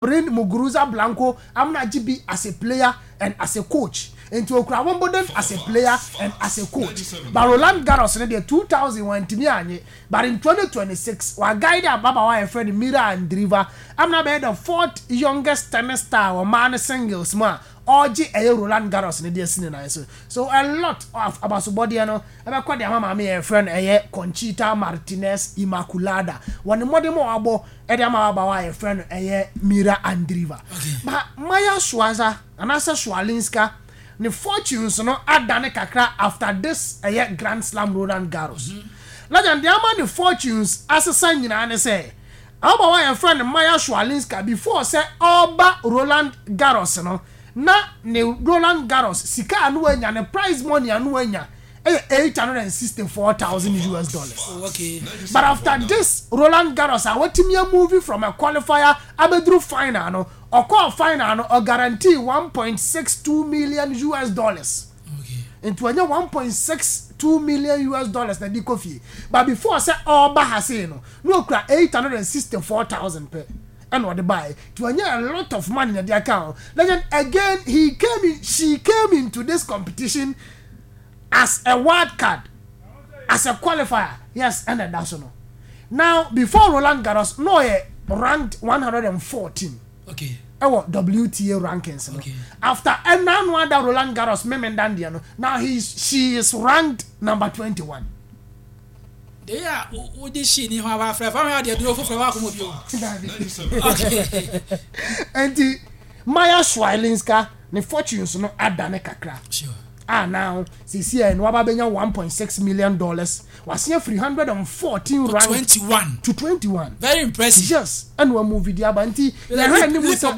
Gabriel Muguruza Blanco amuna agye bi as a player and as a coach. Nti okura Wimbledon as a player and as a coach. But Roland Garros no deɛ, 2000 wantumi anye, but in 2026 wa guide ababaawa a yɛfrɛ no Mira Andreeva amuna bɛyɛ the fourth youngest tennis star wɔ mmaa no singles mu a ɔregye ɛyɛ Roland Garros no de asi ne nan so. So a lot of abasobɔdeɛ no ɛbɛkɔ de ama maame yɛ yɛfrɛ no ɛyɛ Conchita Martinez Immaculada wɔ ne mmɔden mu a wabɔ ɛde ama ababaawa a yɛfrɛ no ɛyɛ Mira Andreeva. Ba Maya Swaza anaasɛ Swalinska ne fortunes no adane kakra after this ɛyɛ Grand Slam Roland Garros. Legend, deɛ ama ne fortunes asesa nyinaa ne sɛ ababaawa a yɛfrɛ no Maya Swalinska, before sɛ ɔreba Roland Garros no, na ne Roland Garros sika a no wanya, ne prize money a no wanya ɛyɛ US$864,000. But after this Roland Garros a watumi a move from a qualifier abɛduru final no, ɔkɔɔ final no, ɔguarantee US$1.62 million. Nti wanya US$1.62 million na de kɔ fie. But before sɛ ɔreba ha sei no, na okura 864,000 pɛ ɛna ɔde baeɛ. Nti wanya a lot of money na de aka ho. Legend, again he came in, she came into this competition as a wild card, as a qualifier, yes. Ɛna ɛda so no, now before Roland Garros no, ɔyɛ ranked 114 ɛwɔ WTA rankings no. After ɛna no ada Roland Garros memendan deɛ no, now he she is ranked number 21. De a wode hyi ni ho aba afrɛ fa ho adeɛ duro foforɔ wakɔmɔ bio. Nti Maya Swalinska ne fortunes no adane kakra a now sisi ɛ no waba bɛnya $1.6 million. Wasen afiri 114 rank 21 to 21. Very impressive. Yes, ɛna wa move di aba. Nti yɛhwɛ anim sɛ,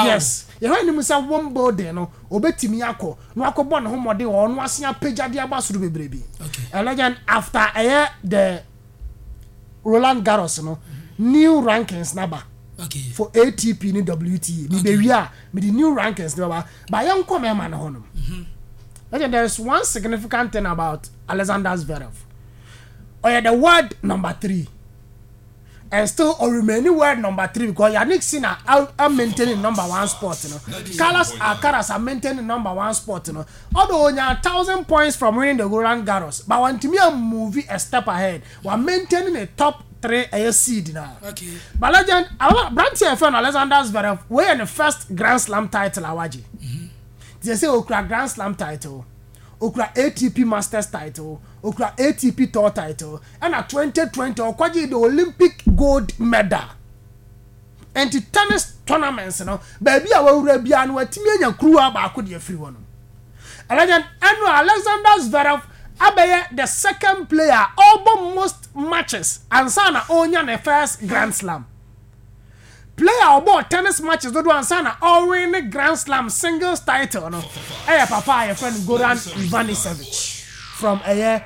yes, yɛhwɛ anim sɛ Wimbledon no obetumi akɔ na wakɔbɔ ne ho mmɔden wɔ ɔno asen apagya de aba soro bebrebe. Ɛlɛgyan after ɛyɛ the Roland Garros no, new rankings naba for ATP ne WTA. Mi bɛ wi a, mi de new rankings ne baba ba. Yɛn nkɔ mɛma ne hɔ nom. Legend, there is one significant thing about Alexander Zverev. Ɔyɛ the world number three and still o remain world number three because Yannick Sinner a maintaining number one spot no, Carlos Alcaraz are maintaining number one spot no, although onya 1,000 points from winning the Roland Garros, but wantumi a move a step ahead wa maintaining the top three ɛyɛ seed na. But legend, aberanteɛ a yɛfrɛ no Alexander Zverev, wei yɛ ne first Grand Slam title a wagye. Te sɛ okura Grand Slam title, okura ATP Masters title, okura ATP Tour title, ɛna 2020 ɔkɔgye the Olympic gold medal. Nti tennis tournaments no, baabi a wawura biara no, watumi anya kuruwa baako de afiri hɔ no. Legend, ɛno Alexander Zverev abɛyɛ the second player ɔbɔ most matches ansa na ɔnya ne first Grand Slam. Player a ɔbɔ tennis matches dodo ansa na ɔwin ne Grand Slam singles title no ɛyɛ papa a yɛfrɛ no Goran Ivanisevic from ɛyɛ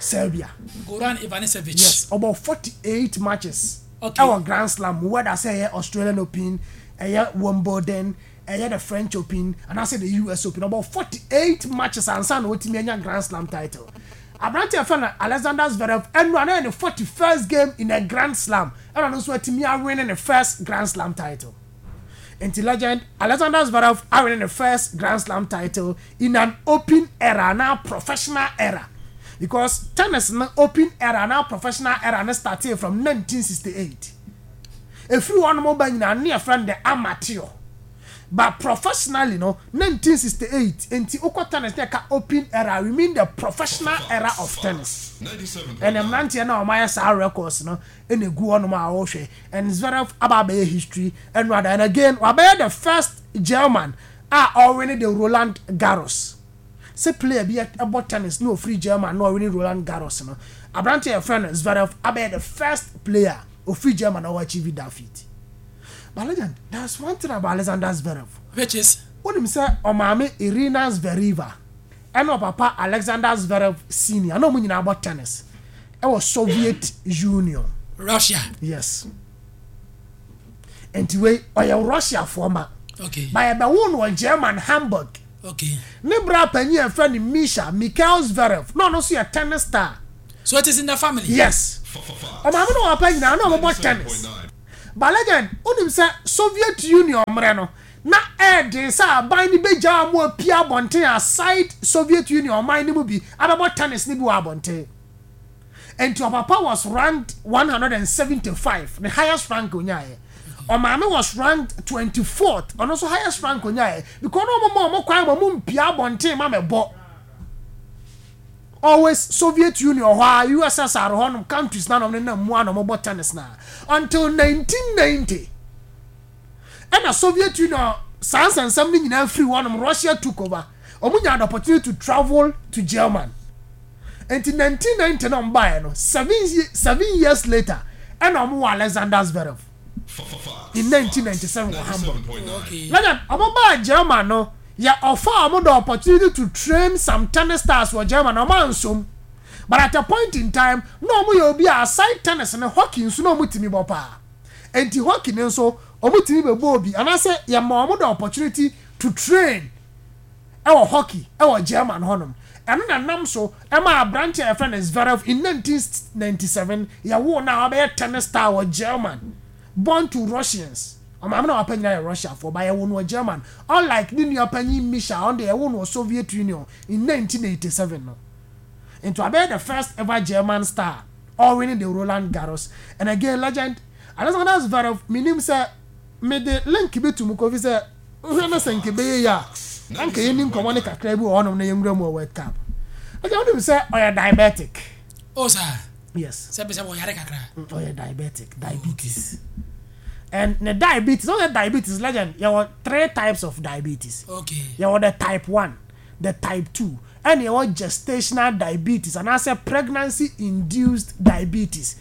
Serbia. Goran Ivanisevic. Yes, ɔbɔ 48 matches ɛwɔ Grand Slam, whether sɛ ɛyɛ Australian Open, ɛyɛ Wimbledon, ɛyɛ the French Open anaasɛ the US Open. Ɔbɔ 48 matches ansa na ɔtumi anya Grand Slam title. Aberante a yɛfrɛ no Alexander Zverev, ɛno ana yɛ ne 41st game in a Grand Slam, ɛna no nso atumi awin ne first Grand Slam title. Nti legend, Alexander Zverev awin ne first Grand Slam title in an open era na professional era, because tennis no open era na professional era no started from 1968. Efiri hɔ nom ba nyinaa ne yɛfrɛ no the amateur, but professionally no, 1968. Nti wokɔ tennis ne ɛka open era, we mean the professional era of tennis. Ɛnna mmeranteɛ no a wɔayɛ saa records no ɛna egu hɔnom a wɔrehwɛ, and Zverev aba abɛyɛ history ɛno ada. And again, wabɛyɛ the first German a ɔwin the Roland Garros. Sɛ player bi ɛbɔ tennis na ofiri German na ɔwin Roland Garros no, aberanteɛ a yɛfrɛ no Zverev abɛyɛ the first player ofiri German a ɔwɔ achieve that feat. But legend, there's one thing about Alexander Zverev. Which is? Wonim sɛ ɔmaame Irina Zvereva ɛna ɔpapa Alexander Zverev Senior na ɔmo nyinaa bɔ tennis ɛwɔ Soviet Union. Russia. Yes, nti wei ɔyɛ Russiafoɔ ma ba yɛbɛwo no wɔ German, Hamburg. Ne bra panyin a yɛfrɛ no Misha, Mikhail Zverev, na ɔno nso yɛ tennis star. So it is in the family. Yes, ɔmaame no, ɔpapa nyinaa na ɔmobɔ tennis. But legend, wonim sɛ Soviet Union mmerɛ no, na ɛyɛ den sɛ aban no bɛgyaa wɔn apue abɔnten aside Soviet Union ɔman no mu bi abɛbɔ tennis no bi wɔ abɔnten. Enti ɔpapa was ranked 175, ne highest rank onyaeɛ. Ɔmaame was ranked 24th, ɔno nso highest rank onyaeɛ. Because na wɔn ma wɔn kwan ma wɔn mpue abɔnten ma mɛbɔ. Always Soviet Union hɔ a, USSR hɔ nom countries na nom nenam mu a na wɔbɔ tennis na until 1990 ɛna Soviet Union saa nsɛnsɛm no nyinaa firi hɔ nom, Russia took over. Wɔn nyaa the opportunity to travel to German. Nti 1990 na wɔn baeɛ no, 7 years later ɛna wɔn wɔ Alexander Zverev in 1997 wɔ Hamburg. Legend, wɔn baa German no, yɛ offer wɔn the opportunity to train some tennis stars wɔ German, wɔn ansom. But at a point in time, na wɔn yɛ obi a aside tennis no, hockey nso na wɔn tumi bɔ paa. Nti hockey no nso, wɔn tumi bɛbɔ obi anaasɛ yɛ ma wɔn the opportunity to train ɛwɔ hockey ɛwɔ German hɔnom. Ɛno na nam so ɛma aberante a yɛfrɛ no Zverev in 1997 yɛwoo no a wabɛyɛ tennis star wɔ German, born to Russians. Ɔmaame na wapa nyinaa yɛ Russiafoɔ, but yɛwoo no wɔ German, unlike ne nua panyin Misha, ɔno deɛ yɛwoo no wɔ Soviet Union in 1987 no. Nti wabɛyɛ the first ever German star all winning the Roland Garros. And again, legend, Alexander Zverev, menim sɛ mede link bi to mu, Kofi, sɛ wohwɛ no sɛ nke bɛyɛ yi a, na nka yɛni nkɔmmɔ ne kakra bi wɔ hɔnom na yɛnwura mu wɔ World Cup. Ɛgya, wonim sɛ ɔyɛ diabetic? Oh, saa? Yes. Sɛ bɛ sɛ wɔyare kakra. Ɔyɛ diabetic, diabetes, and ne diabetes, ɔyɛ diabetes, legend, yɛwɔ three types of diabetes. Yɛwɔ the type 1, the type 2, ɛna yɛwɔ gestational diabetes anaasɛ pregnancy induced diabetes.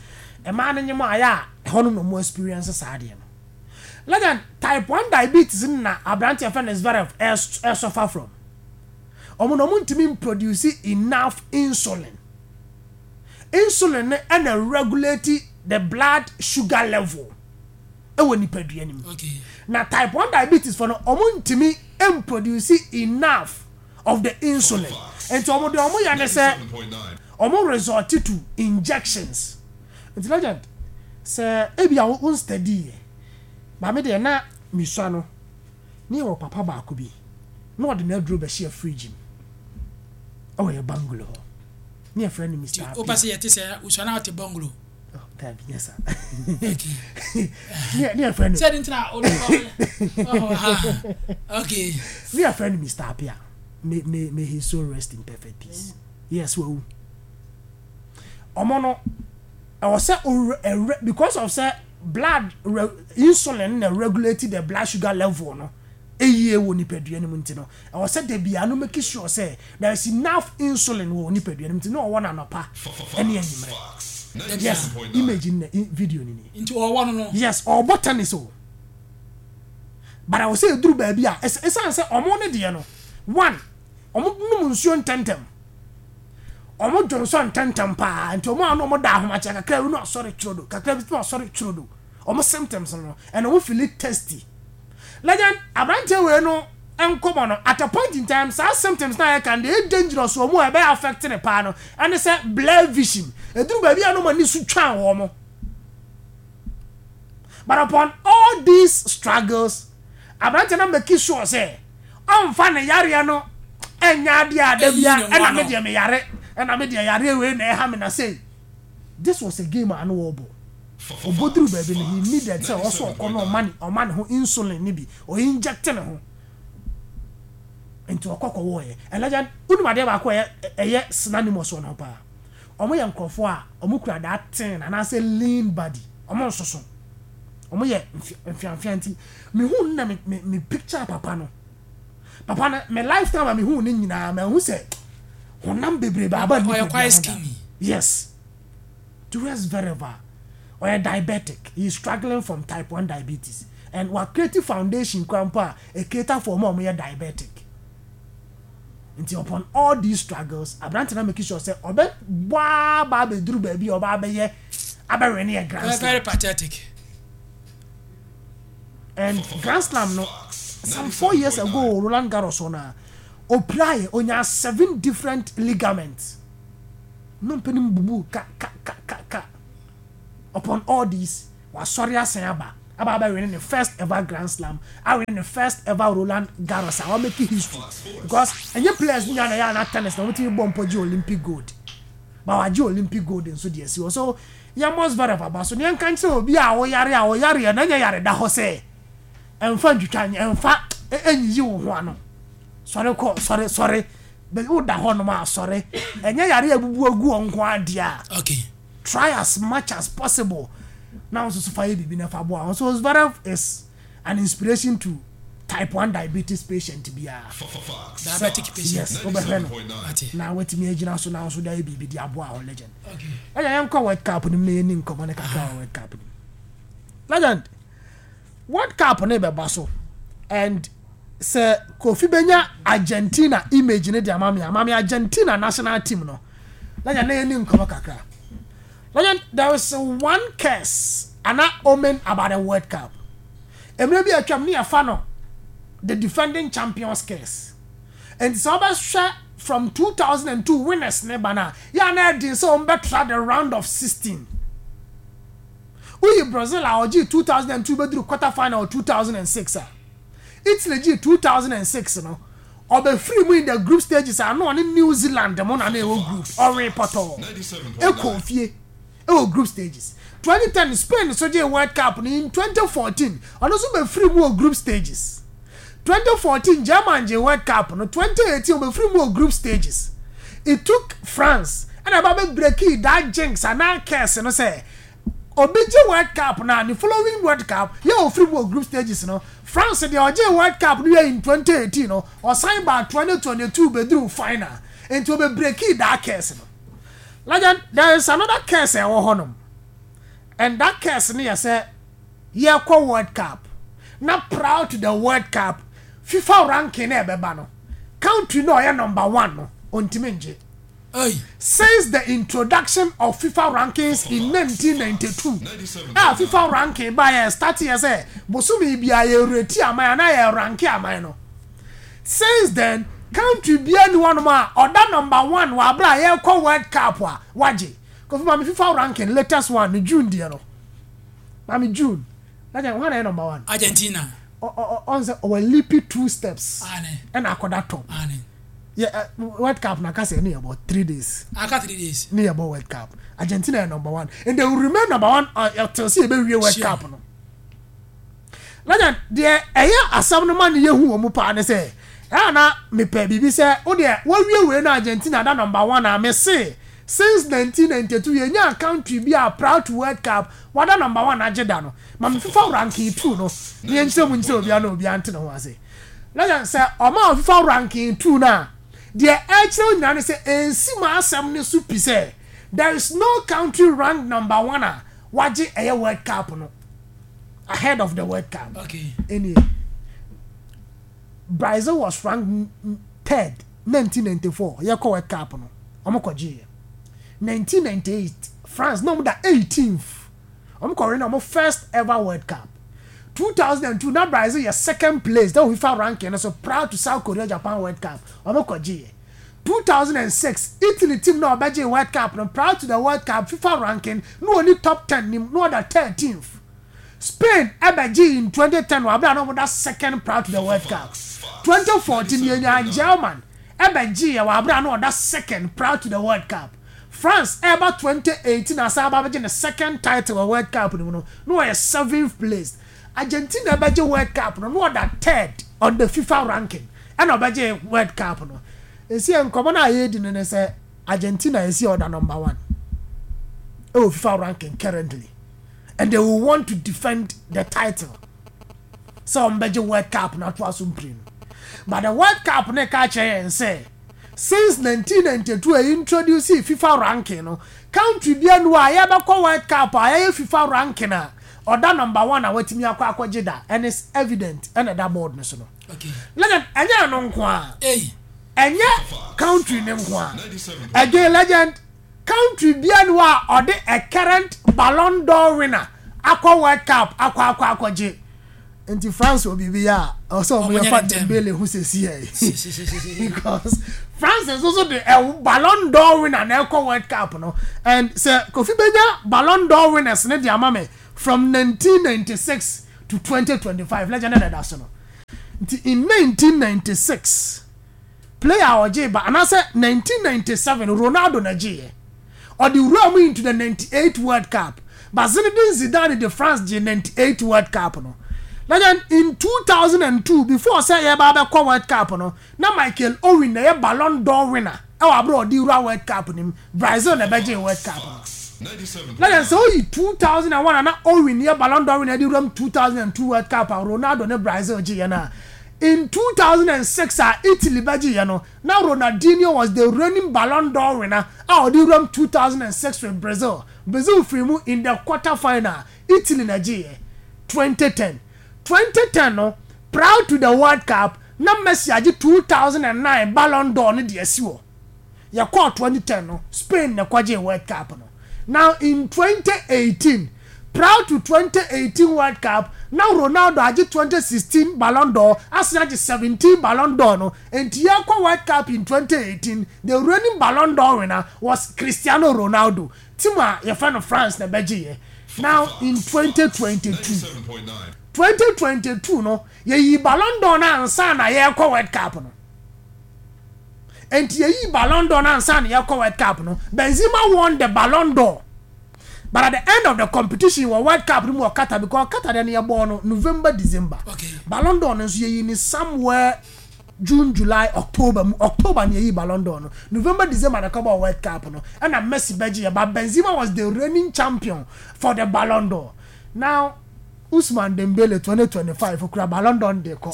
Ɛmaa no nyɛ mu ayɛ a, ɛhɔ no na ɔmo experience saa adeɛ no. Legend, type 1 diabetes no na aberanteɛ fɛ no Zverev ɛsuffer from. Ɔmo na ɔmo ntumi produce enough insulin. Insulin no ɛna regulate the blood sugar level ɛwɔ nipadua no mu. Na type 1 diabetes fo no, ɔmo ntumi mproduce enough of the insulin, nti ɔmo de ɔmo yɛ ne sɛ ɔmo resort to injections. Nti legend, sɛ ebi a wo study yɛ maame deɛ na misua no, ne yɛ wɔ papa baako bi na ɔde n'aduro bɛhyɛ fridge mu ɛwɔ yɛ bungalow hɔ, ne yɛ frɛ no Mr. Apia. Wopɛ sɛ yɛte sɛ wosua na wote bungalow? Oh, dabi, nyɛ sa. Ne yɛ frɛ no sɛ de ntina wode. Okay. Ne yɛ frɛ no Mr. Apia. May his soul rest in perfect peace. Yes, wawu. Ɔmo no ɛwɔ sɛ ɔwura because of sɛ blood insulin na regulate the blood sugar level no eyie wɔ nipadua no mu, nti no ɛwɔ sɛ dabi ano make sure sɛ there is enough insulin wɔ nipadua no mu, nti na ɔwɔ n'anɔpa ɛne anwummerɛ. Yes, image na video ni ni. Nti ɔwɔ no? Yes, ɔbɔ tennis o, but ɛwɔ sɛ eduru baabi a ɛsan sɛ ɔmo ne deɛ no one, ɔmo nom nsuo ntɛntɛm, ɔmo dwonsɔ ntɛntɛm paa, nti ɔmo a na ɔmo da ahomakyɛ kakra bi na ɔsɔre twerɛdo, kakra bi na ɔsɔre twerɛdo. Ɔmo symptoms no, ɛna ɔmo feel thirsty. Legend, aberanteɛ wei no nkɔmɔ no, at a point in time, saa symptoms na yɛ kan deɛ ɛyɛ dangerous wɔ mu a ɛbɛyɛ affect ne paa no, ɛne sɛ blur vision. Eduru baabi a na ɔmo ani so twan wɔn mo. But upon all these struggles, aberanteɛ no make sure sɛ ɔnfa ne yareɛ no ɛnyɛ adeɛ a da bia ɛna me deɛ me yare, ɛna me deɛ yareɛ wei na ɛha me na sei. This was a game a ano wɔbɔ. Ɔbɔduru baabi no, he needed sɛ ɔsɔ ɔkɔ na ɔma ne ho insulin ne bi ɔ inject ne ho, nti ɔkɔ kɔwɔɔyɛ. Ɛlɛgya, wonim adeɛ baako a ɛyɛ synonymous wɔ ne ho paa? Ɔmo yɛ nkurɔfoɔ a ɔmo kura that thin anaasɛ lean body. Ɔmo nsoso, ɔmo yɛ mfiamfia, nti mehu no na me picture papa no. Papa no, me lifetime a mehu ne nyinaa, mahu sɛ honam bebree baaba nipa. Ɔyɛ quite skinny. Yes, Julius Zverev a ɔyɛ diabetic, he is struggling from type 1 diabetes and wa create foundation kora mpo a ɛcater for ɔmo a ɔmo yɛ diabetic. Nti upon all these struggles, aberante na make sure sɛ ɔbɛ bɔ aba abɛduru baabi a ɔba abɛyɛ abɛwɛ ne yɛ Grand Slam. Very pathetic. And Grand Slam no, some 4 years ago, Roland Garros hɔ na opiraeɛ, onya seven different ligaments no mpɛ bubu ka ka ka ka ka. Upon all these, wasɔre asan aba. Aba abɛwin ne first ever Grand Slam, awin ne first ever Roland Garros a wamake history, because ɛnyɛ players nyinaa na ɛyɛ ana tennis na wɔtumi bɔ mpɔ gye Olympic gold, but wagye Olympic gold nso deɛ si hɔ. So yɛmmɔ Zverev aba so ne yɛnka nkyerɛ obi a ɔyare a ɔyareɛ na ɛnyɛ yare da hɔ sɛ ɛmfa ntwitwa, ɛmfa ɛnyiyi wo ho ano. Sɔre kɔ, sɔre, sɔre, woda hɔ nom a, sɔre. Ɛnyɛ yare a ebubu agu wɔn nko adeɛ a, try as much as possible na nso so fa yɛ biribi na fa boa wɔn. So Zverev is an inspiration to type 1 diabetes patient biara. Diabetic patient. Yes, wobɛhwɛ no na watumi agyina so na nso de ayɛ biribi de aboa wɔn. Legend, ɛyɛ yɛnkɔ World Cup no mu na yɛni nkɔmmɔ ne kakra wɔ World Cup no mu. Legend, World Cup no bɛba so, and sɛ Kofi bɛnya Argentina image ne de ama me, ama me Argentina national team no. Legend, na yɛni nkɔmmɔ kakra. Legend, there is one curse ana omen about the World Cup. Mmerɛ bi atwam ne yɛfa no the defending champions curse. Nti sɛ wobɛhwɛ from 2002 winners ne ba no a, yɛ a na ɛden sɛ wɔn the round of 16. Woyi Brazil a ɔgye 2002 bɛduru quarter final 2006 a, Italy gye 2006 no, ɔbɛfiri mu in the group stages a na ɔne New Zealand mo na na ɛwɔ group, ɔwe pɔtɔɔ ɛkɔ fie ɛwɔ group stages. 2010 Spain so gye World Cup no in 2014, ɔno nso bɛfiri mu wɔ group stages. 2014 German gye World Cup no, 2018 ɔbɛfiri mu wɔ group stages. It took France ɛna ɛba bɛ break that jinx anaa curse no sɛ obi gye World Cup na ne following World Cup yɛ ofiri mu wɔ group stages no. France deɛ, ɔgye World Cup no yɛ in 2018 no, ɔsan ba 2022 bɛduru final, nti ɔbɛ break that curse no. Legend, there is another curse a ɛwɔ hɔnom, and that curse no yɛ sɛ yɛkɔ World Cup na prior to the World Cup, FIFA ranking na ɛbɛba no, country na ɔyɛ number one no ɔntumi ngye. Since the introduction of FIFA rankings in 1992 a FIFA ranking ba yɛ start yɛ sɛ bosomi bia yɛ rate aman anaa yɛ rank aman no, since then country bia ni hɔnom a ɔda number one wɔ abere a yɛkɔ World Cup a wagye. Kofi, maame, FIFA ranking latest one ne June deɛ no, maame, June na kyɛn wɔn na yɛ number one. Argentina. Ɔn sɛ ɔwɔ leap two steps ɛna akɔda top. Yɛ World Cup na kasa ne yɛ bɔ 3 days. Aka 3 days. Ne yɛ bɔ World Cup, Argentina yɛ number one and they will remain number one till sɛ yɛ bɛ wie World Cup no. Legend, deɛ ɛyɛ asɛm no ma ne yɛ hu wɔn mu paa ne sɛ ɛyà na mepɛ biribi sɛ o deɛ wɔwie wei na Argentina da number one a, me se since 1992 yɛ nya country bi a prior to World Cup wada number one agye da no. Ma me FIFA ranking two no ne yɛn nkyɛn mu nkyɛn obiara na obiara nte ne ho ase. Legend, sɛ ɔma FIFA ranking two na deɛ ɛkyerɛ nyinaa ne sɛ ɛnsi ma asɛm ne so pi sɛ there is no country ranked number one a wagye ɛyɛ World Cup no ahead of the World Cup. Anyway, Brazil was ranked third 1994 yɛkɔ World Cup no, ɔmo kɔ gye yɛ. 1998 France na ɔmo da 18th, ɔmo kɔ win ɔmo first ever World Cup. 2002 na Brazil yɛ second place na FIFA ranking no so prior to South Korea Japan World Cup, ɔmo kɔ gye yɛ. 2006 Italy team na ɔbɛgye World Cup no, prior to the World Cup FIFA ranking na wɔni top 10 nim na ɔda 13th. Spain ɛbɛgye in 2010 wɔ abira na ɔmo da second prior to the World Cup. 2014 yɛnya German ɛbɛgye yɛ wɔ abira na ɔda second prior to the World Cup. France ɛba 2018 asan aba abɛgye ne second title wɔ World Cup no mu no, na ɔyɛ seventh place. Argentina ɛbɛgye World Cup no, na ɔda third on the FIFA ranking ɛna ɔbɛgye World Cup no. Esi nkɔmɔ no a yɛredi no ne sɛ Argentina esi ɔda number one ɛwɔ FIFA ranking currently, and they will want to defend the title sɛ wɔn bɛgye World Cup no ato aso mpire no. But the World Cup ne ka kyerɛ yɛn sɛ since 1992 a introduce FIFA ranking no, country bi anu a yɛbɛkɔ World Cup a yɛyɛ FIFA ranking a ɔda number one a watumi akɔ akɔgye da, and it's evident ɛna ɛda board no so no. Legend, ɛnyɛ ɛno nko a, ɛnyɛ country ne nko a. Again, legend, country bi anu a ɔde a current Ballon d'Or winner akɔ World Cup akɔ akɔ akɔgye. Nti France wɔ biribi yɛ a ɔsɛ ɔmo yɛ fa Dembele ho sɛsi yɛ, because France nso so de ɛ Ballon d'Or winner na ɛkɔ World Cup no. And sɛ Kofi benya Ballon d'Or winners ne de ama me from 1996. to 2025 legend na ɛda so no. Nti in 1996 player a ɔgyee ba anaasɛ 1997 Ronaldo na gyeeɛ. Ɔde wuraa mu into the 98 World Cup but Zinedine Zidane de France gyee 98 World Cup no. Legend in 2002 before sɛ yɛreba abɛkɔ World Cup no na Michael Owen na ɛyɛ Ballon d'Or winner wɔ abere a ɔde wura World Cup no mu. Brazil na ɛbɛgyee World Cup no. Na yɛn sɛ oyi 2001 a na Owen yɛ Ballon d'Or winner de wura mu 2002 World Cup a Ronaldo ne Brazil gyeeɛ no a, in 2006 a Italy bɛgyeeɛ no, na Ronaldinho was the reigning Ballon d'Or winner a ɔde wura mu 2006 with Brazil. Brazil firii mu in the quarter final, Italy na ɛgyeeɛ. 2010. 2010 no, prior to the World Cup, na Messi agye 2009 Ballon d'Or no de asi hɔ. Yɛkɔɔ 2010 no, Spain na ɛkɔgyee World Cup no. Now in 2018, prior to 2018 World Cup, na Ronaldo agye 2016 Ballon d'Or, asan agye 17 Ballon d'Or no. Enti yɛrekɔ World Cup in 2018, the reigning Ballon d'Or winner was Cristiano Ronaldo. Team a yɛfrɛ no France na ɛbɛgyeeɛ. Now in 2022, 2022 no, yɛyii Ballon d'Or no ansa na yɛrekɔ World Cup no. Enti yɛyii Ballon d'Or no ansa na yɛrekɔ World Cup no. Benzema won the Ballon d'Or. But at the end of the competition wɔ World Cup no mu wɔ Qatar because Qatar deɛ no yɛbɔɔ no November, December. Okay. Ballon d'Or no nso yɛyii no somewhere June, July, October mu. October na yɛyii Ballon d'Or no. November, December na ɛkɔbɔɔ World Cup no. Ɛna Messi bɛgyeeɛ but Benzema was the reigning champion for the Ballon d'Or. Now Ousmane Dembele 2025 okura Ballon d'Or no de kɔ.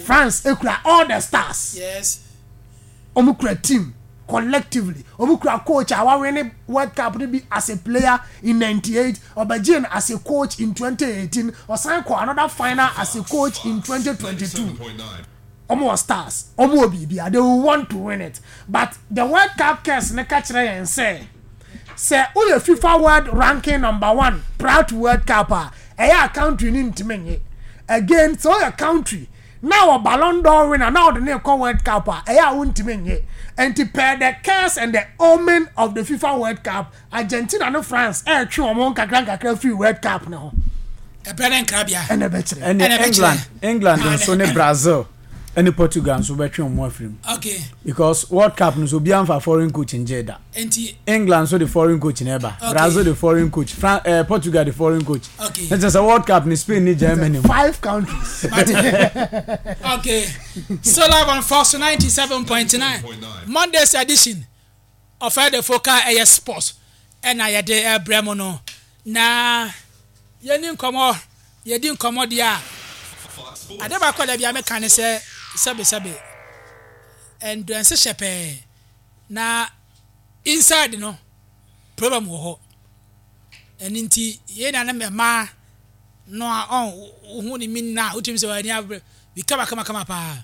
France ekura all the stars. Yes. Wɔn kura team collectively. Wɔn kura coach a wawene World Cup no bi as a player in 98. Ɔbɛgye no as a coach in 2018. Ɔsan kɔ another final as a coach in 2022. Wɔn wɔ stars. Wɔn wɔ biribiara. They will want to win it. But the World Cup curse no ka kyerɛ yɛn sɛ sɛ woyɛ FIFA World Ranking number one prior to World Cup a, ɛyɛ a country no ntumi nye. Again, sɛ woyɛ country na wɔ Ballon d'Or winner na wɔde no rekɔ World Cup a, ɛyɛ a wontumi nye. Nti per the curse and the omen of the FIFA World Cup, Argentina ne France ɛretwe wɔn ho nkakra nkakra firi World Cup no ho. Ɛbrɛ ne nkrabea. Ɛna ɛbɛkyerɛ. Ɛne England, England nso ne Brazil ɛne Portugal nso bɛtwe wɔn afiri mu. Okay. Because World Cup no so obiara nfa foreign coach ngye da. Nti. England nso de foreign coach na ɛba. Okay. Brazil de foreign coach. Fran eh, Portugal de foreign coach. Okay. Ne kyerɛ sɛ World Cup ne Spain ne Germany mu. Five countries. Okay. So live on Fox 97.9 Monday's edition. Ɔfɛdefo ka ɛyɛ sports ɛna yɛde ɛbrɛ mo no na yɛni nkɔmɔ yɛdi nkɔmɔ deɛ a ade baako a dabi a meka ne sɛ sɛbe sɛbe endurance hyɛ pɛɛ na inside no problem wɔ hɔ ɛno nti yɛn nuanom mmaa no a ɔn wohu ne min na wotumi sɛ wɔn ani abere bi kama kama kama paa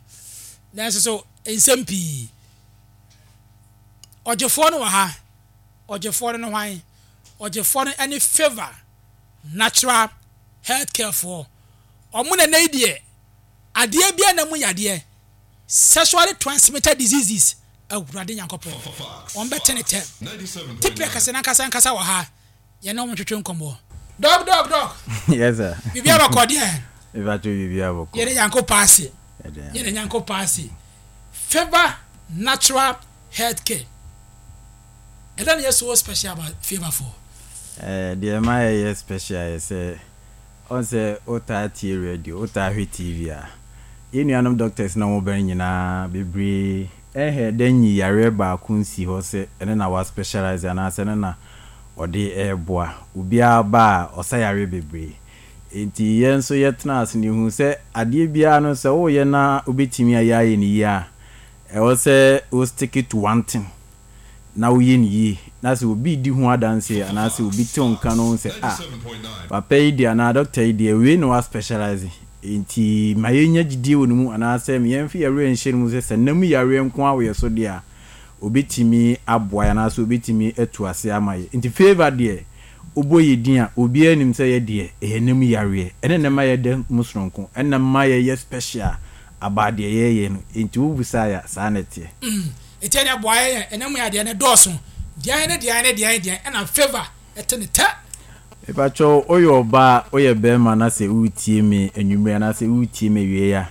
nanso so nsɛm pii Ɔgyefoɔ no wɔ ha. Ɔgyefoɔ no ne hwan? Ɔgyefoɔ no ne Favour Natural Health Care foɔ. Wɔn na ɛnnɛ yi deɛ, adeɛ biara na mu yadeɛ, sexually transmitted diseases, Awurade Nyankopɔn, wɔn bɛte ne tɛm. Tipɛ kɛse no ankasa ankasa wɔ ha. Yɛne wɔn twetwe nkɔmmɔ. Dɔk dɔk dɔk. Yes sir. Biribiara bɔkɔ deɛ. Mepakyɛw biribiara bɔkɔ. Yɛde Nyankopɔn ase. Yɛde Nyankopɔn ase. Favour Natural Health Care. Ɛdɛn na ɛyɛ so special about Favour foɔ? Eh, deɛ ɛma ɛyɛ special yɛ sɛ, ɔn sɛ wotaa tie radio, wotaa hwɛ TV a, yɛn nuanom doctors na wɔn ba no nyinaa bebree ɛhɛ dɛ nyi yareɛ baako nsi hɔ sɛ ɛno na wa specialize anaasɛ ɛno na ɔde reboa. Obiara ba a, ɔsa yareɛ bebree. Enti yɛn nso yɛtenaa ase no, yɛhuu sɛ adeɛ biara no, sɛ woreyɛ na wobɛtumi ayɛ ayɛ no yie a, ɛwɔ sɛ wo stick to one thing na woyɛ no yie. Na sɛ obi redi ho adanseɛ anaasɛ obi te wo nka na ɔhu sɛ, ah, papa yi deɛ anaa dɔkta yi deɛ, wei na wa specialise, enti ma yɛnya gyidie wɔ ne mu anaasɛ ma yɛmfa yɛn werɛ nhyɛ ne mu sɛ, sɛ nna mu yareɛ nko ara wɔ yɛn so deɛ a, Obetumi aboa yɛn anaasɛ obetumi atu ase ama yɛn. Nti favour deɛ, wobɔ yɛn din a, obiara nim sɛ yɛ deɛ, ɛyɛ nna mu yareɛ. Ɛno na ɛma yɛda mu sononko. Ɛno na ɛma yɛyɛ special about deɛ yɛyɛ no. Nti wobisa yɛn a, saa na ɛteɛ. Nti ɛnna boa yɛn, ɛnna mu yadeɛ no dɔɔso. Deɛn ne deɛn ne deɛn deɛn ɛna favour ɛte ne tɛ. Mepakyɛw, woyɛ ɔbaa, woyɛ bɛrima na sɛ woretie me anwummere anaasɛ woretie me awiei a,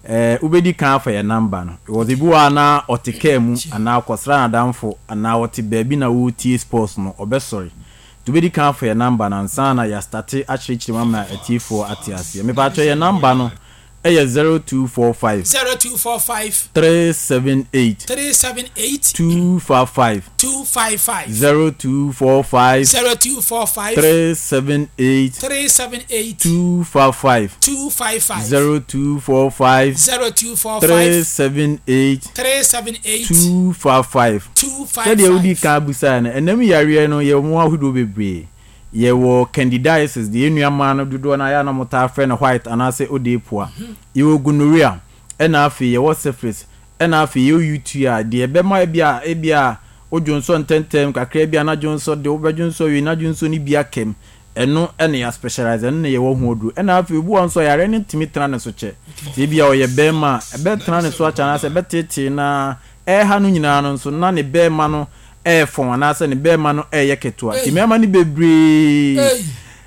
eh, wobɛdi kan afa yɛn number no. Because ebi wɔ hɔ a na ɔte kaa mu anaa ɔkɔsra n'adamfo anaa ɔte baabi na woretie sports no, ɔbɛsɔre. Nti wobɛdi kan afa yɛn number no ansa na yɛastate akyerɛkyerɛ mu ama atiefoɔ ate aseɛ. Mepakyɛw, yɛn number no Ɛyɛ 0245. 0245. 378. 378. 255. 255. 0245. 0245. 378. 378. 255. 255. 0245. 0245. 378. 378. 255. 255. Sɛdeɛ wodii kan bisaeɛ no, ɛnam yareɛ no yɛwɔ mu ahodoɔ bebree. Yɛwɔ candidiasis, deɛ yɛn nua mmaa no dodoɔ no ara yɛ a na wɔtaa frɛ no white anaasɛ odeepua. Yɛwɔ gonorrhea, ɛna afei yɛwɔ syphilis, ɛna afei yɛwɔ UTI, deɛ ɛbɛma ebia ebia wodwonsɔ ntɛntɛm kakra bi a na dwonsɔ de wobɛdwonsɔ wie na dwonsɔ no bi aka mu. Ɛno na yɛ specialize, ɛno na yɛwɔ ho aduro. Ɛna afei obi wɔ hɔ nso a yareɛ no ntumi tena ne so kyɛ. Sɛ ebia ɔyɛ barima a, ɛbɛtena ne so akyɛ anaasɛ ɛbɛteetee no ara. Ɛreha no nyinaa no nso, na ne barima no refɔn anaasɛ ne barima no reyɛ ketewa. Nti mmarima no bebree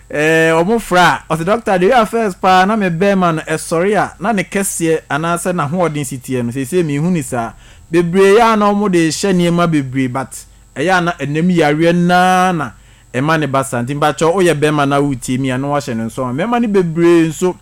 ɛɛ wɔn frɛ a, ɔsɛ dɔkta deɛ ɔyɛ first paa na me barima no ɛsɔre a na ne kɛseɛ anaasɛ n'ahoɔden si teɛ no seesei menhu ne saa. Bebree yɛ a na wɔn de rehyɛ nneɛma bebree but ɛyɛ a na ɛnam yareɛ no ara na ɛma ne ba saa. Nti mpakyɛw woyɛ barima na woretie mi a na wahyɛ no nso ama. Mmarima no bebree nso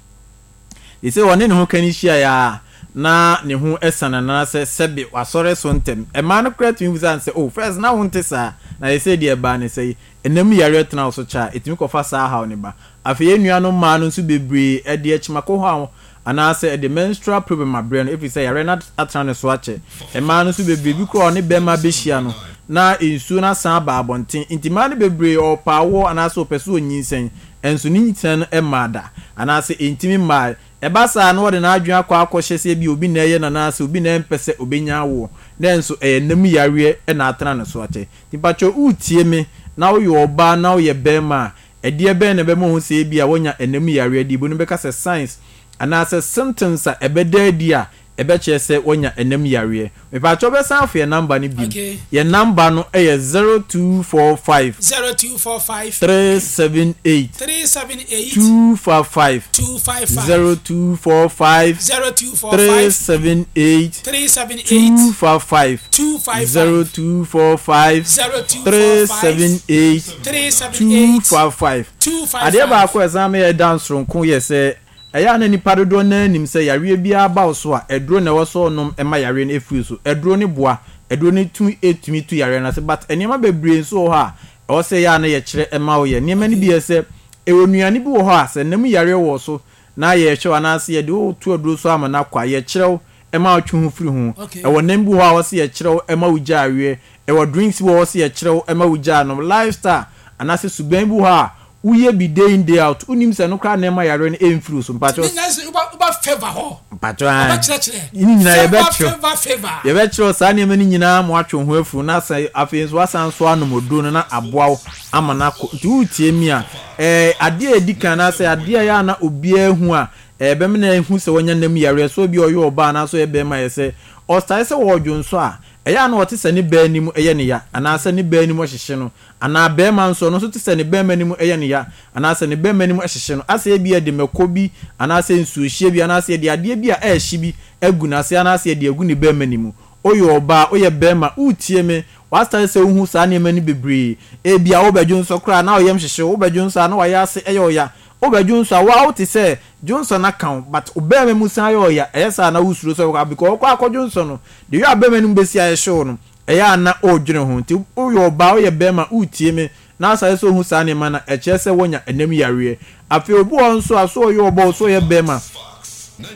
Seesei ɔne ne hokani hyiae a, na ne ho asiane anaasɛ sɛbe wasɔre so ntɛm. Mmaa no koraa tumi bisa no sɛ, Oh, first na wonte saa, na seesei deɛ ɛbaa ne sɛn? Ɛnna mu yareɛ tena wo so kyɛ a, ɛtumi kɔfa saa haw no ba. Afei yɛn nuanom mmaa no nso bebree, ɛde akyimakohaw anaasɛ ɛde menstrual problem abrɛ no ɛfiri sɛ yareɛ no atena ne so akyɛ. Mmaa no nso bebree, bi koraa ɔne barima bɛhyia no, na nsuo no asan aba abɔnten. Nti mmaa no bebree, ɔrepɛ awoɔ anaasɛ ɔpɛ sɛ ɔnyinsɛn, Nso ne nyikyerɛ no mmaa da, anaasɛ ɛntumi mmae. Ɛba saa a, na ɔde n'adwene akɔ akɔhyɛ sɛ ebia obi na ɛyɛ no anaasɛ obi na ɛmpɛ sɛ ɔbɛnya awoɔ, nanso ɛyɛ nna mu yareɛ na atena ne so akyɛ. Nti mpakyɛw woretie me na woyɛ ɔbaa na woyɛ barima a, ɛdeɛ bɛn na ɛbɛma woahu sɛ ebia woanya nna mu yareɛ? Deɛ ebinom bɛka sɛ signs anaasɛ symptoms a ɛbɛda adi a ɛbɛkyerɛ sɛ wanya ɛnam yareɛ. Mepaakyɛw bɛsan afo yɛn number no biom. Okay. Yɛn number no yɛ 0245. 0245. 378. 378. 255. 255. 0245. 0245. 378. 378. 255. 255. 0245. 0245. 378. 378. 255. 255. Adeɛ baako a ɛsan ma yɛda nsoronko yɛ sɛ Ɛyɛ a na nnipa dodoɔ no ara nim sɛ yareɛ biara ba wo so a, aduro na ɛwɔ sɛ wonom ma yareɛ no firi wo so. Aduro no boa, aduro no tumi tumi tu yareɛ no ase but nneɛma bebree nso wɔ hɔ a ɛwɔ sɛ ɛyɛ a na yɛkyerɛ ma woyɛ. Nneɛma no bi yɛ sɛ, ɛwɔ nnuane bi wɔ hɔ a sɛ nam yareɛ wɔ wo so na yɛrehwɛ wo anaasɛ yɛde wo to aduro so ama no akɔ a, yɛkyerɛ wo ma wotwe ho firi ho. Ɛwɔ nam bi wɔ hɔ a ɛwɔ sɛ yɛkyerɛ wo ma wogyaa weɛ. Ɛwɔ drinks bi wɔ hɔ sɛ yɛkyerɛ wo ma wogyaa nom. Lifestyle anaasɛ suban bi wɔ hɔ a Woyɛ bi day in day out wonim sɛ ɛno koraa na ɛma yareɛ no ɛmfiri wo so mpakyɛw. Ne nyinaa sɛ woba woba favour hɔ. Mpakyɛw ae. Wɔbɛkyerɛkyerɛ. Ne nyinaa Favour yɛbɛkyerɛ. favour favour. Yɛbɛkyerɛw saa nneɛma no nyinaa ma woatwe wo ho afiri ho na asan afei nso woasan nso anom oduro no na aboa wo ama no akɔ. Nti woretie me a ɛɛ adeɛ a ɛdi kan anaasɛ adeɛ a ɛyɛ a na obiara hu a ɛbɛma no ahu sɛ wanya nam yareɛ sɛ obi a ɔyɛ ɔbaa anaasɛ ɔyɛ barima yɛ sɛ ɔstae sɛ ɔredwonsɔ a ɛyɛ a na ɔte sɛ ne baa anim yɛ no ya anaasɛ ne baa anim hyehye no Anaa barima nso, ɔno nso te sɛ ne barima no mu yɛ no ya, anaasɛ ne barima no mu hyehye no, asɛ ebia yɛde mako bi, anaasɛ nsuohyeɛ bi, anaasɛ yɛde adeɛ bi a ɛrehye bi agu n'ase, anaasɛ yɛde agu ne barima no mu. Woyɛ ɔbaa, woyɛ barima, woretie me, woastate sɛ wohu saa nneɛma no bebree. Ebia wobɛdwonsɔ koraa na wo yam hyehye wo, wobɛdwonsɔ a na w'ayaase yɛ wo ya, wobɛdwonsɔ a wo ara wote sɛ dwonsɔ no aka wo, but wo barima mu san yɛ wo ya, ɛyɛ saa a na wosuro sɛ wobɛkɔ, because wokɔ akɔdwonsɔ no, the way a barima no mu bɛsi ayɛ hye wo no, Ɛyɛ a na ɔredwene ho. Nti woyɛ ɔbaa, woyɛ barima, woretie me, na asane sɛ wohu saa nneɛma no a, ɛkyerɛ sɛ woanya ɛnam yareɛ. Afei obi wɔ hɔ nso a, sɛ ɔyɛ ɔbaa o, sɛ ɔyɛ barima,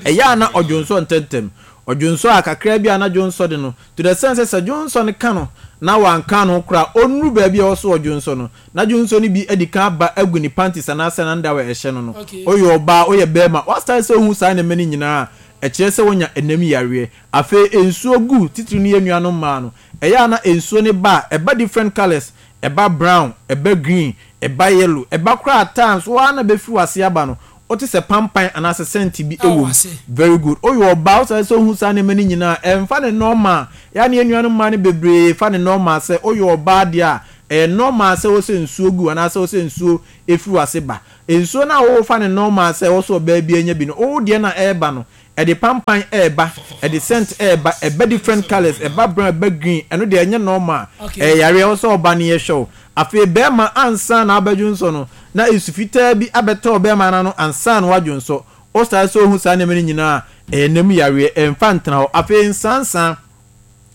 ɛyɛ a na ɔdwonsɔ ntɛmntɛm. Ɔdwonsɔ a, kakra bi a na dwonsɔ de no, to the extent sɛ sɛ dwonsɔ no ka no na wanka ne ho koraa a, ɔnnuru baabi a ɛwɔ sɛ ɔdwonsɔ no, na dwonsɔ no bi adi kan aba agu ne panties anaasɛ n'underwear a ɛhyɛ no no. Woyɛ ɔbaa, woyɛ barima, woasane sɛ wohu saa nneɛma no nyinaa a, ɛkyerɛ sɛ woanya ɛnam yareɛ. Afei nsuo gu, titiri no yɛn nuanom mmaa no, ɛyɛ a na nsuo no ba a, ɛba different colours, ɛba brown, ɛba green, ɛba yellow, ɛba koraa at times wo ara na bɛfiri w'ase aba no, wote sɛ pampan anaasɛ scent bi wɔ mu. Very good. Woyɛ ɔbaa, wo sɛ sɛ wohu saa nneɛma no nyinaa a, ɛmfa no normal. Ɛyɛ a na yɛn nuanom mmaa no bebree fa no normal sɛ woyɛ ɔbaa deɛ a, Ɛyɛ normal sɛ wosɛ nsuo gu anaasɛ wosɛ nsuo firi w'ase ba. Nsuo no a wofa no normal sɛ ɛwɔ sɛ ɔbaa biara nya bi no, wo deɛ no a ɛreba no, ɛde pampan reba, ɛde scent reba, ɛba different colours, ɛba brown, ɛba green, ɛno deɛ ɛnyɛ normal. Ɛyɛ yareɛ, ɛwɔ sɛ ɔba no yɛhwɛ wo. Afei barima ansa na wabɛdwonsɔ no, na nsu fitaa bi abɛtɔ ɔbarima no ano ansa na wadwonsɔ. Wo start sɛ wohu saa nneɛma no nyinaa a, ɛyɛ nna mu yareɛ, ɛmfa ntena hɔ. Afei nsansa.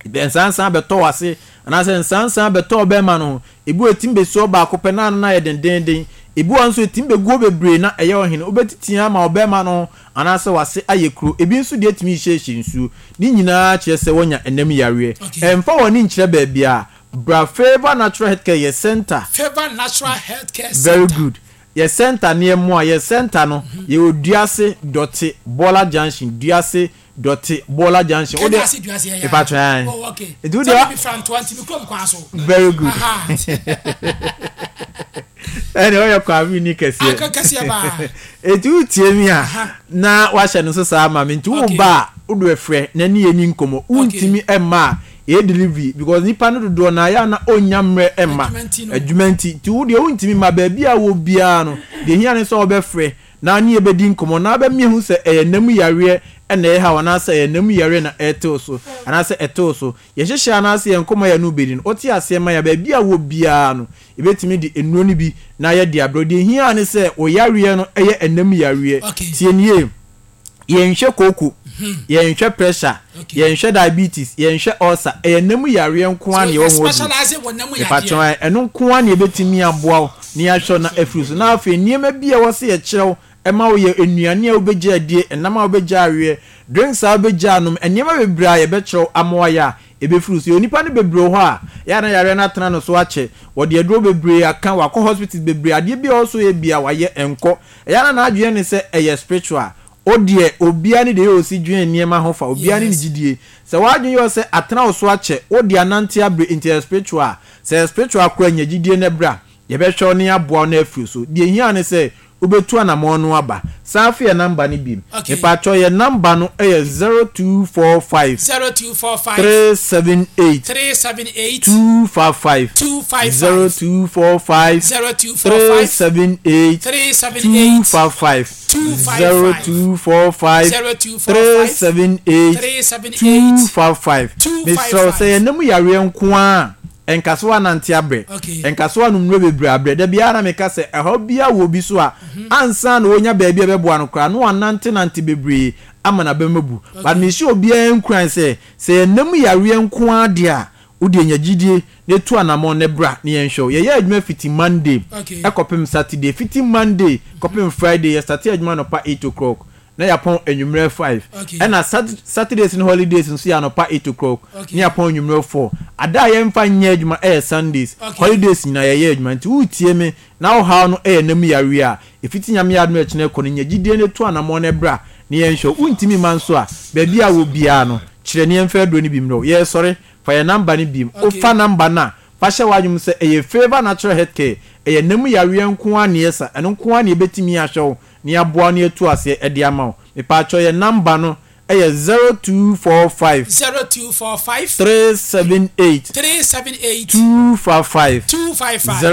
Nsansan bɛtɔ w'ase anaasɛ nsansan bɛtɔ ɔbɛrima no ho. Ebi wɔ etumi besi hɔ baako pɛ na ano no ayɛ dendeenden. Ebi wɔ hɔ nso etumi begu hɔ bebree na ɛyɛ ɔhene. Wobɛtete ama ɔbɛrima no ho anaasɛ w'ase ayɛ kuro. Ebi nso deɛ etumi hyehyɛ nsuo. Ne nyinaa kyerɛ sɛ woanya ɛnam yareɛ. Ɛmfa w'ani nkyerɛ baabiara. Bra Favour Natural Healthcare yɛ center. Favour Natural Healthcare Very Center. good. Yɛ center no yɛ mmoa. Yɛ center no yɛwɔ Duase Dɔte Bɔla Junction. Duase Dɔte Bɔɔla junction. Kenya ase dua seɛ yaa. Mepa kyɛw. Oh okay. Nti wo Sɛ deɛ. mi fra ntoa nti mi kurom kwan so. Very good. Ɛne ɔyɛ Kwame ni kɛseɛ. Aka kɛseɛ paa. Eti wo tie mi a na wahyɛ no so saa ma mi nti wo ba a wo do ɛfrɛ na ne yɛ ni nkɔmɔ. Wo ntumi ɛmma a ɛyɛ delivery because nipa no dodoɔ na ayɛ a na ɔnnya mmerɛ ɛmma. Adwuma nti. Nti wo deɛ wo ntumi mma baabi a wɔ biara no deɛ ehia ne sɛ wɔbɛfrɛ na ne yɛbɛdi nkɔmmɔ na abɛma yɛahu sɛ ɛyɛ nna mu yareɛ na ɛreha wo anaasɛ ɛyɛ nna mu yareɛ na ɛrete wo so anaasɛ ɛte wo so. Yɛn nhyehyɛeɛ anaasɛ yɛn nkɔmmɔ a yɛne wo bɛdi no, wote aseɛ ma yɛn a, baabi a wowɔ biara no, yɛbɛtumi de nnuro no bi na yɛde abrɛ wo. Deɛ ɛhia ara ne sɛ wo yareɛ no yɛ nna mu yareɛ. Tie no yie. Yɛnhwɛ kooko, yɛnhwɛ pressure, yɛnhwɛ diabetes, yɛnhwɛ ulcer. Ɛyɛ nna mu yareɛ nko ara na yɛwɔ ho aduro. Mepakyɛw ɛ, ɛno nko ara na yɛbɛtumi aboa wo na yɛahwɛ wo na afiri so. Na afei nneɛma bi a ɛwɔ sɛ yɛkyerɛ wo ma woyɛ, nnuane a wobɛgyae adie, ɛnam a wobɛgyae aweɛ, drinks a wobɛgyae anom, nneɛma bebree a yɛbɛkyerɛ wo ama woayɛ a ɛbɛfiri wo so. Yɛwɔ nnipa no bebree wɔ hɔ a, ɛyɛ a na yareɛ no atena no so akyɛ. Wɔde aduro bebree aka, wakɔ hospitals bebree, adeɛ bi a ɛwɔ sɛ ɔyɛ biara wayɛ, ɛnkɔ. Ɛyɛ a na n'adwene ne sɛ ɛyɛ spiritual. O deɛ, obiara ne deɛ ɔsi dwen nneɛma ho fa, obiara ne ne gyidie. Sɛ w'adwene yɛ wo sɛ atena wo so akyɛ, wo deɛ anante abre nti ɛyɛ spiritual a, sɛ ɛyɛ spiritual koraa nya gyidie na bra, yɛbɛhwɛ wo na yɛaboa wo na afiri so. Deɛ ɛhia ne sɛ wobɛtu anamɔn no aba. San fa yɛn number no biom. Mepakyɛw yɛn number no yɛ 0245 0245 378 378 255 255 0245 0245 378 378 255 255 0245 0245 378 378 255 Mesrɛ wo sɛ 255 yɛn nna mu yareɛ nko ara a, ɛnka sɛ woanante abrɛ, Okay. ɛnka sɛ woanom nnuro bebree abrɛ. Da biara na meka sɛ ɛhaw biara wɔ obi so a, ansa na ɔnya baabi a ɛbɛboa no koraa no wanantenante bebree ama n'abam abu. But mehyɛ obiara nkuran sɛ, sɛ yɛn nna mu yareɛ nko ara deɛ a, Wo deɛ nya gyidie na tu anamɔn na bra na yɛnhwɛ wo. Yɛyɛ adwuma fiti Monday kɔpem Saturday. Fiti Monday kɔpem Friday yɛ starte adwuma anɔpa eight o'clock na yɛapɔn anwummerɛ five. Ɛna Saturdays ne holidays nso yɛ anɔpa eight o'clock na yɛapɔn anwummerɛ four. Ada a yɛmfa nyɛ adwuma yɛ Sundays. Holidays nyinaa yɛyɛ adwuma. Nti woretie me na wo haw no yɛ nam yareɛ a, ɛfiti Nyame adom a ɛkyena kɔ no, nya gyidie na tu anamɔn na bra na yɛnhwɛ wo. Wontumi mma nso a, baabi a wɔ biara no, kyerɛ na yɛmfa aduro no bi mmerɛ wo. Yɛresɔre. Fa yɛn number no biem. Wo fa number no a, fa hyɛ w'adwene mu sɛ ɛyɛ Favour Natural Health Care. Ɛyɛ nna mu yareɛ nko ara na yɛsa. Ɛno nko ara na yɛbɛtumi ahwɛ wo na yɛaboa wo na yɛatu aseɛ de ama wo. Mepaakyɛw yɛn number no yɛ 0245 0245 378 378 255 255.